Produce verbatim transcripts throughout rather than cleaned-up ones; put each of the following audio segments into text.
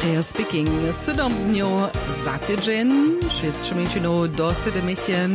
They are speaking sydom dnjow za tydźeń, šěsć mjeńšinow do sydomeće.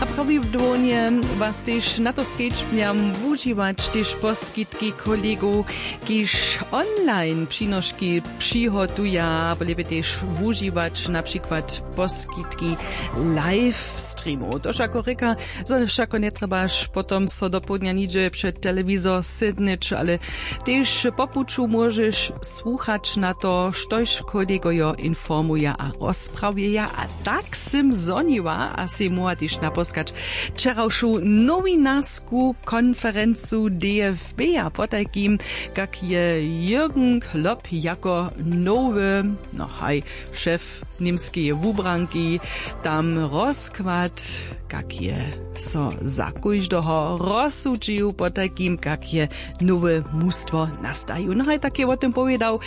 A prawidłownje was tež na to skedźbnjam wužiwać tež poskitki kolegow, kiž online přinoški přihotuja, abo lěpje tež wužiwać na přikład poskitki live streamow. To wšako rěka, zo wšako njetrjebaš potom so dopołdnja nihdźe před telewizor sydnyć, ale tež po puću móžeš słuchać na to, štož kolegojo informuja a rozprawjeja. A tak sym zhoniła a sej móhła tež naposkać wčerawšu nowinarsku konferencu D F B a potajkim, kak je Jürgen Klopp jako nowy, no haj, šef němskeje wubranki tam rozkład, kak je so za kóždeho rozsudźił, potajkim kak je nowe mustwo nastajił. No haj, tak je wo tym powědał.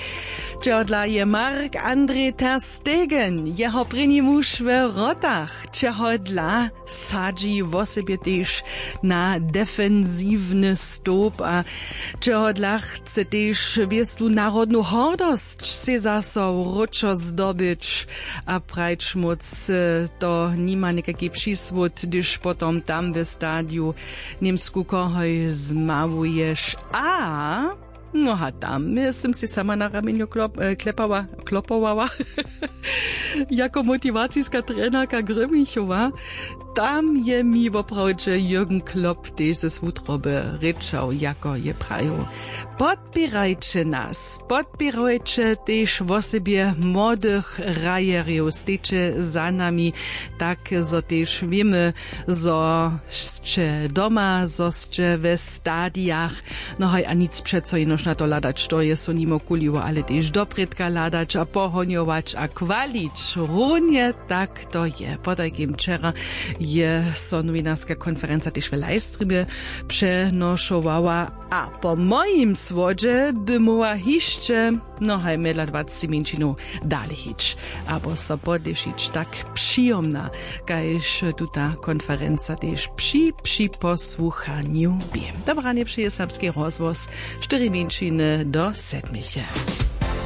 Čehodla je Marc-André ter Stegen jeho prěni muž w wrotach? Čehodla sadźi wosebje tež na defensiwny stołp a čehodla chce tež wěstu narodnu hordosć sej zaso wróćo zdobyć? A prajć móc, to nima někajki přisłód, hdyž potom tam w stadiju němsku kohoj zmałuješ a no a tam sym sej sama na ramjenjo klop, e, klepała, klopowała jako motiwaciska trenerka Grymichowa. Tam je mi woprawdźe Jürgen Klopp tež z wutroby rěčał, jako je prajił: Podpěrajće nas, podpěrajće tež wosebje młodych hrajerjow, stejće za nami, tak zo tež wěmy, zo sće doma, zo sće we stadijach. No haj, a nic přeco jenož na to hladać, to je so nimo kuliło, ale tež doprědka hladać a pohonjować a chwalić. Runje tak to je. Potajkim wčera je so nowinarska konferenca tež w livestreamje přenošowała a po mojim słodźe by móhła hišće, no haj, mjedla dwacci mjeńšinow dale hić abo so podlěšić. Tak přijomna, kaž tuta konferenca tež při připosłuchanju bě. Dobranje přeje Serbski rozhłos, štyri mjeńšiny do sedmeje.